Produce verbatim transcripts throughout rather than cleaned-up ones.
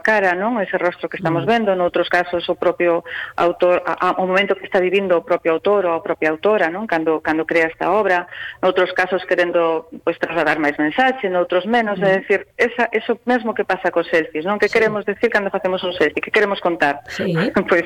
cara, non? Ese rostro que estamos vendo, noutros casos o propio autor, a, a, o momento que está vivindo o propio autor ou a propia autora, non? Cando, cando crea esta obra, noutros casos querendo pues, trasladar máis mensaxe, noutros menos, mm. é dicir, esa, eso mesmo que pasa cos selfies, non? Que sí. queremos decir cando facemos un selfie, que queremos contar, sí. pois pues,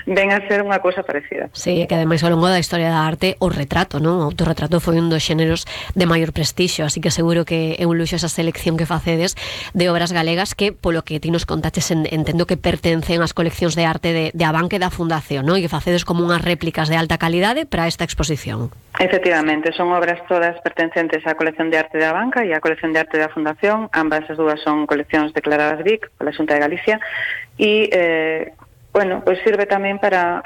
ven a ser unha cousa parecida. Sí, que ademais ao longo da historia da arte o retrato, non? O autorretrato foi un dos xéneros de maior prestixio, así que seguro que é un luxo esa selección que facedes de obras galegas que, polo que ti nos contaches, en, entendo que pertencen ás coleccións de arte de, de Abanca e da Fundación, non? E que facedes como unhas réplicas de alta calidade para esta exposición. Efectivamente, son obras todas pertencentes á colección de arte de Abanca e á colección de arte da Fundación. Ambas as dúas son coleccións declaradas B I C pola Xunta de Galicia e, eh, bueno, pois sirve tamén para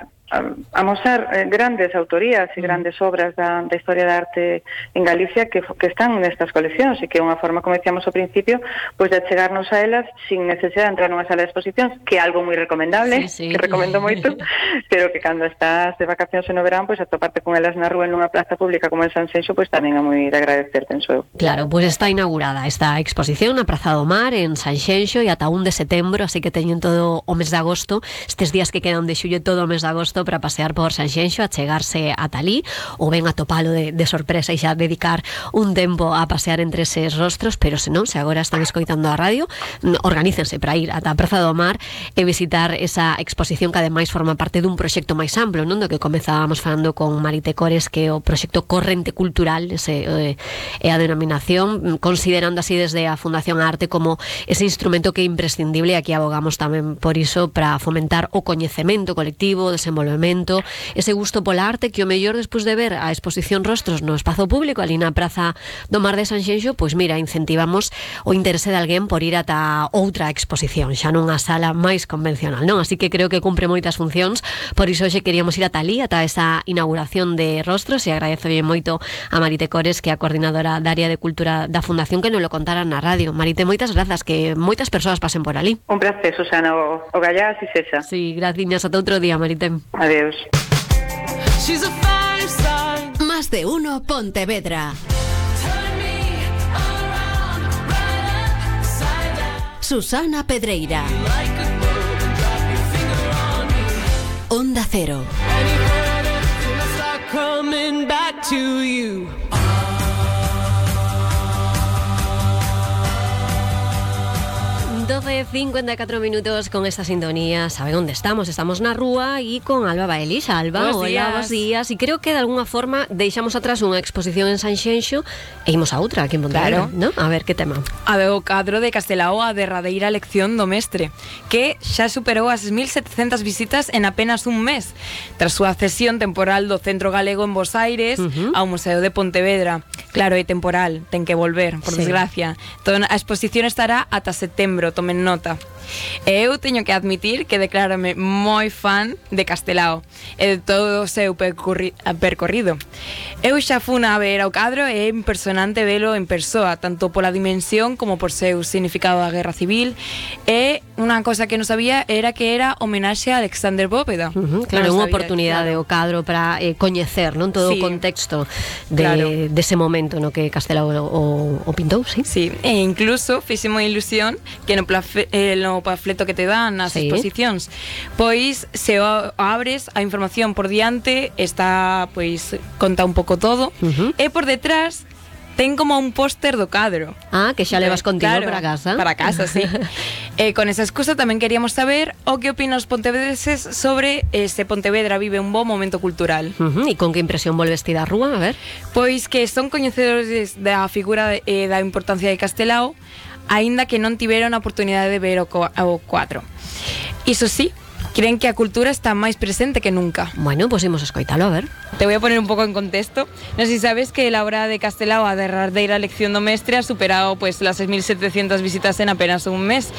amosar eh, grandes autorías e grandes obras da, da historia da arte en Galicia que, que están nestas coleccións e que é unha forma, como decíamos ao principio, pois de achegarnos a elas sin necesidade de entrar nunha sala de exposicións, que é algo moi recomendable, sí, sí. que recomendo moito, pero que cando estás de vacacións no verán, pois atoparte con elas na rúa en unha plaza pública como en Sanxenxo, pois tamén é moi de agradecer, penso eu. Claro, pois está inaugurada esta exposición na Praza do Mar en Sanxenxo e ata un de setembro, así que teñen todo o mes de agosto, estes días que quedan de xullo, todo o mes de agosto para pasear por Sanxenxo, a chegarse a talí ou ben a topalo de, de sorpresa e xa dedicar un tempo a pasear entre eses rostros, pero se non, se agora están escoitando a radio, organícense para ir ata a Praza do Mar e visitar esa exposición que ademais forma parte dun proxecto máis amplo, non? Do que comezábamos falando con Marite Cores, que é o proxecto Corrente Cultural, ese é eh, a denominación, considerando así desde a Fundación Arte como ese instrumento que é imprescindible, e aquí abogamos tamén por iso para fomentar o coñecemento colectivo, o desenvolvemento, ese gusto pola arte, que o mellor despois de ver a exposición Rostros no espazo público ali na Praza do Mar de Sanxenxo, pois mira, incentivamos o interese de alguén por ir ata outra exposición, xa nunha sala máis convencional, non? Así que creo que cumpre moitas funcións, por iso hoxe queríamos ir ata ali, ata esa inauguración de Rostros, e agradezo bien moito a Marite Cores, que é a coordinadora da área de cultura da Fundación, que nos lo contaran na radio. Marite, moitas grazas, que moitas persoas pasen por ali. Un placer, Susana, o, o gallás e sexa. Sí, gracias, ata outro día, Marite. Adeus. Más de uno Pontevedra. Susana Pedreira. Onda Cero. doce cincuenta y cuatro minutos con esta sintonía. ¿Saben dónde estamos? Estamos na rúa e con Alba Baelis. Alba, buenos hola, días. bons días. E creo que de alguna forma deixamos atrás unha exposición en Sanxenxo e imos a outra aquí en Pontevedra, Claro. ¿no? A ver, que tema? A do cadro de Castelao, a derradeira lección do mestre, que xa superou as mil setecentas visitas en apenas un mes, tras súa cesión temporal do Centro Galego en Bos Aires Uh-huh. ao Museo de Pontevedra. Claro, é temporal, ten que volver, por Sí. desgracia. Toda a exposición estará ata setembro, tomen nota. E eu teño que admitir que declárame moi fan de Castelao e de todo o seu percorri- percorrido. Eu xa fun a ver ao cadro e é impresionante velo en persoa, tanto pola dimensión como por seu significado da Guerra Civil. E unha cosa que non sabía era que era homenaxe a Alexander Bóveda. Uh-huh, claro, Non unha sabía, oportunidade claro. o cadro para eh, coñecer, non, todo Sí. o contexto de, Claro. dese momento no que Castelao o, o pintou, sí? Sí, e incluso fixemos ilusión que no, plafe, eh, no panfleto que te dan nas Sí. exposicións, pois se o abres a información por diante está, pois, conta un pouco todo, Uh-huh. e por detrás ten como un póster do cadro. Ah, que xa levas contigo Claro, para casa. Para casa, sí. E con esa excusa tamén queríamos saber o que opinan os pontevedreses sobre eh, se Pontevedra vive un bo momento cultural. Uh-huh. E con que impresión volves ti da rúa? A ver. Pois que son coñecedores da figura e eh, da importancia de Castelao, aínda que non tiveron a oportunidade de ver o, co- o cuadro. Iso sí, creen que a cultura está máis presente que nunca. Bueno, pues imos a escoitalo, a ver. Te voy a poner un pouco en contexto. Non sei si sabes que la obra de Castelao, a derradeira lección do mestre, ha superado pues las seis mil setecientas visitas en apenas un mes.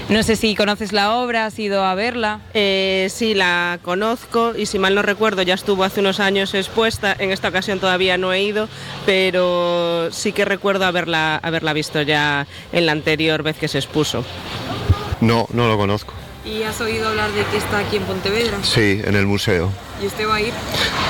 No sé si conoces la obra, has ido a verla. Eh, sí, la conozco y si mal no recuerdo ya estuvo hace unos años expuesta, en esta ocasión todavía no he ido, pero sí que recuerdo haberla, haberla visto ya en la anterior vez que se expuso. No, no lo conozco. ¿Y has oído hablar de que está aquí en Pontevedra? Sí, en el museo. ¿Y usted va a ir?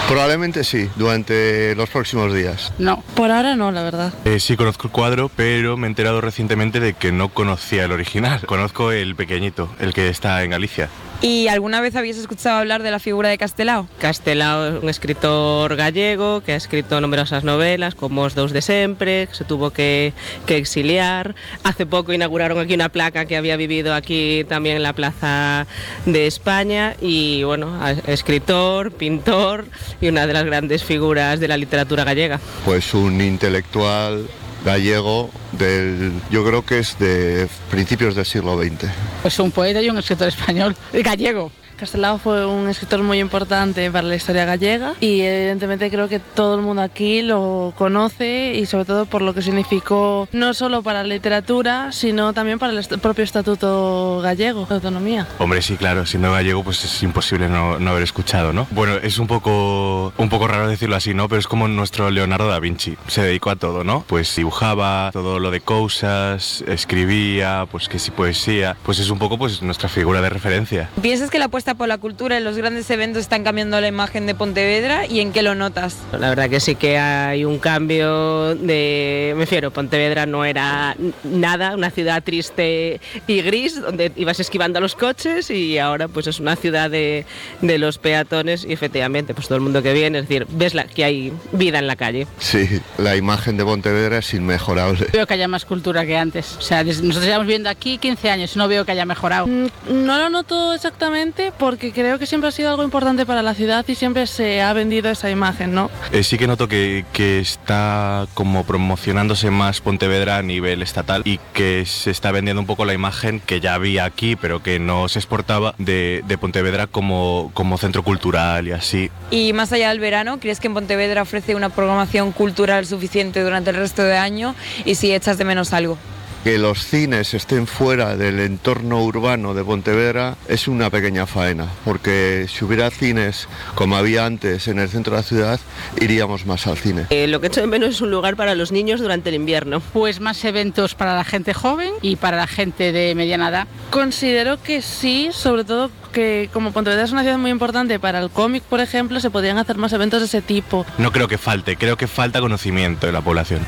Probablemente sí, durante los próximos días. No, por ahora no, la verdad. Eh, sí conozco el cuadro, pero me he enterado recientemente de que no conocía el original. Conozco el pequeñito, el que está en Galicia. ¿Y alguna vez habías escuchado hablar de la figura de Castelao? Castelao es un escritor gallego que ha escrito numerosas novelas como Os dous de sempre, que se tuvo que, que exiliar. Hace poco inauguraron aquí una placa que había vivido aquí también en la Plaza de España y bueno, escritor, pintor y una de las grandes figuras de la literatura gallega. Pues un intelectual gallego del, yo creo que es de principios del siglo veinte. Pues un poeta y un escritor español, gallego. Castelao fue un escritor muy importante para la historia gallega y evidentemente creo que todo el mundo aquí lo conoce y sobre todo por lo que significó no solo para la literatura sino también para el est- propio estatuto gallego de autonomía. Hombre, sí, claro, siendo gallego pues es imposible no, no haber escuchado, ¿no? Bueno, es un poco, un poco raro decirlo así, ¿no? Pero es como nuestro Leonardo da Vinci, se dedicó a todo, ¿no? Pues dibujaba, todo lo de cosas, escribía, pues que sí poesía, pues es un poco pues nuestra figura de referencia. ¿Piensas que la apuesta por la cultura en los grandes eventos están cambiando la imagen de Pontevedra y en qué lo notas? La verdad que sí que hay un cambio de... Me refiero, Pontevedra no era nada, una ciudad triste y gris donde ibas esquivando a los coches y ahora pues es una ciudad de, de los peatones y efectivamente pues todo el mundo que viene, es decir, ves la, que hay vida en la calle. Sí, la imagen de Pontevedra es inmejorable. Veo que haya más cultura que antes. O sea, desde, nosotros llevamos viviendo aquí quince años y no veo que haya mejorado. No lo noto exactamente porque creo que siempre ha sido algo importante para la ciudad y siempre se ha vendido esa imagen, ¿no? Eh, sí que noto que, que está como promocionándose más Pontevedra a nivel estatal y que se está vendiendo un poco la imagen que ya había aquí pero que no se exportaba de, de Pontevedra como, como centro cultural y así. Y más allá del verano, ¿crees que en Pontevedra ofrece una programación cultural suficiente durante el resto de año y si echas de menos algo? Que los cines estén fuera del entorno urbano de Pontevedra es una pequeña faena, porque si hubiera cines como había antes en el centro de la ciudad, iríamos más al cine. Eh, lo que echo de menos es un lugar para los niños durante el invierno. Pues más eventos para la gente joven y para la gente de mediana edad. Considero que sí, sobre todo que como Pontevedra es una ciudad muy importante para el cómic, por ejemplo, se podrían hacer más eventos de ese tipo. No creo que falte, creo que falta conocimiento de la población.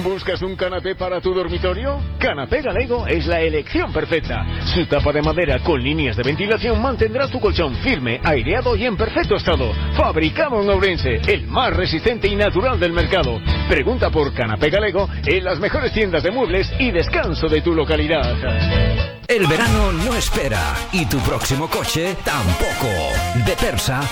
¿Buscas un canapé para tu dormitorio? Canapé Galego es la elección perfecta. Su tapa de madera con líneas de ventilación mantendrá tu colchón firme, aireado y en perfecto estado. Fabricado en Ourense, el más resistente y natural del mercado. Pregunta por Canapé Galego en las mejores tiendas de muebles y descanso de tu localidad. El verano no espera y tu próximo coche tampoco. De Persa